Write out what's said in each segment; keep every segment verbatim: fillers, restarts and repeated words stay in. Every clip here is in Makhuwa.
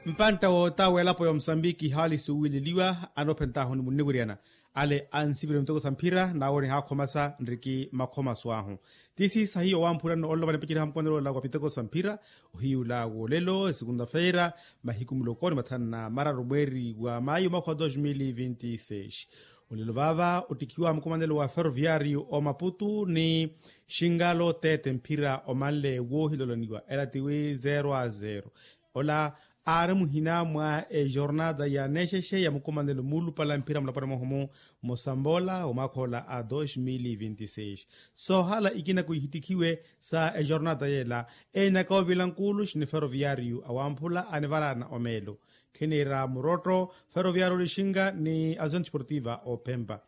Mpantta wootawa elapo ya omusambiki haali suwiileliwa anoophentaahu ni munniwiriyana. Ale ansivire miteko sa mphira n'awo nihakhomasa nriki makhomaso ahu. Tiisi sahiyo wamphula nno onlova nipaceriha mukumanelo ola wa miteko sa mphira, ohiyula wolelo esukunta feira, mahiku muloko ni mathanu na mararu mweeri wa mayu mwakha wa dos mil vinti seis. Olelo vaava ottikhiwa mukumanelo wa ferroviario omaputu ni xingalo tete mphira omanle woohiloloniwa ela tiwi zero a zero. Ola aari muhina mwa ejornata ya nexexe ya mukumanelo muulupala mphira mulapwana mwahumu musamboola wa mwaakha ola a dos mil vinti seis. Soohala ikina kuhittikhiwe sa ejornata yeela, eenaka ovila nkuulu xini ferroviario awamphula anivaraana omeelo. Khiniira murotto, ferroviario olixinka ni azion desportiva ophempa.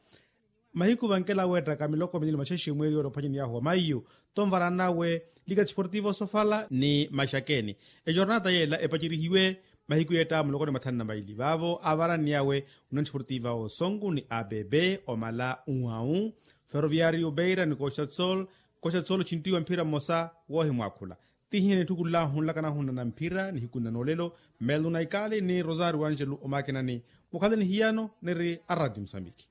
Mahiku vankela weettaka miloko minili maxexe mweeri yoole ophwanyani yahu wa maiyu, tonvara nawe lika desportivo sofala ni maxakeni. Ejornata yeela epacerihiwe mahiku yeetta muloko ni mathanu na maili vaavo avarani awe, union desportiva osonku ni abb, omala uau, ferroviario beira ni costa do sol. Costa do sol ochinttiwa mphira mmosa woohimwaakhula. Tihinya nitthukullahu nlakana hunna na mphira nihiku nna noolelo, meluna ikali ni rosario angelo omaakinani. Mukhalani hiyano niri a radio musambiki.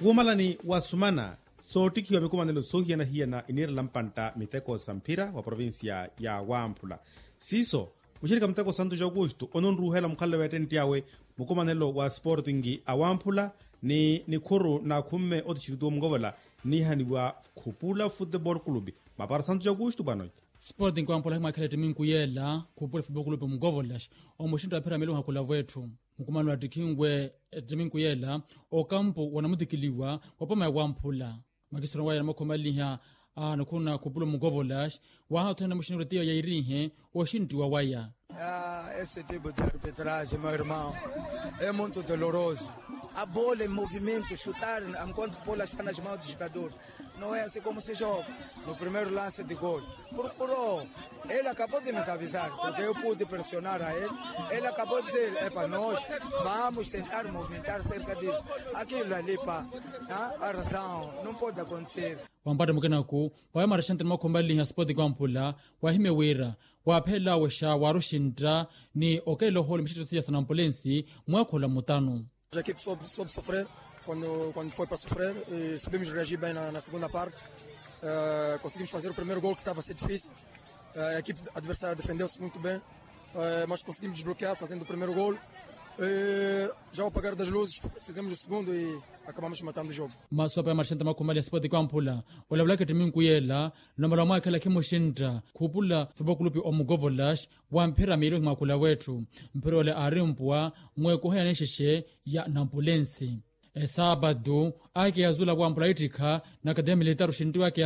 Wuumalani wa sumana soottikhiwa mikumanelo soohiyana-hiyana iniirela mpantta miteko sa mphira wa provincia ya wamphula. Siiso muxirikha muteko santo ja aukusto ononruuhela mukhalelo wa ettentti awe mukumanelo wa sportingi awamphula ni nikhuru n'akhumme otixiritiwa omukovola, niihaniwa khupula futebol kulupi mapara santo ja aukusto bwanoita. Sportingi awamphula ahimwaakhela ettiminku yeela khupula futebol kulupi omukovola omuxintta wa phiramili ohakulavwa etthu. Mukumanelo attikhinwe ettiminku yeela okampu wanamutikiliwa wapoma ya wamphula. Makisiro waya namakhomaleliha a nikhuru n'akhupulo mukovolas waha othene muxiniro tiyo yairiihe oxinttiwa waya. Esse tipo de arbitragem meu irmão, é muito doloroso. A bola em movimento chutar enquanto bola está nas mãos do jogador, não é assim como se joga. No primeiro lance de gol procurou. Ele acabou de nos avisar porque eu pude pressionar a ele. Ele acabou de dizer é para nós, vamos tentar movimentar cerca disso. Aquilo ali pá, a razão não pode acontecer. Wampatta mukenaku waya marexanti ni makhomaleliha sport kwampula wahimye wira waaphelela awexa waari oxintta ni okelela ohoole mixitto siya sa nampulensi. Mwaakhola mutanu. As equipes soube soube sofrer quando quando foi para sofrer e soubemos reagir bem na segunda parte. Conseguimos fazer o primeiro gol que estava a ser difícil. A equipe adversária defendeu-se muito bem, mas conseguimos desbloquear fazendo o primeiro gol. Já ao apagar das luzes fizemos o segundo e acabamos matando o jogo. Masu apa ya marixanti makhumaleliha sport kwampula olavulaka ettiminku yeela. Nomala wamwaakhela khimuxintta khupula fopo kulupi omukovolas wa mphira miili ohimwaakhula wetthu. Mphira ole aari mpuwa mweekuha ya nixexe ya nampulensi. Esaapatu ake yazula wampula ittikha na akademia militar oxintti wake.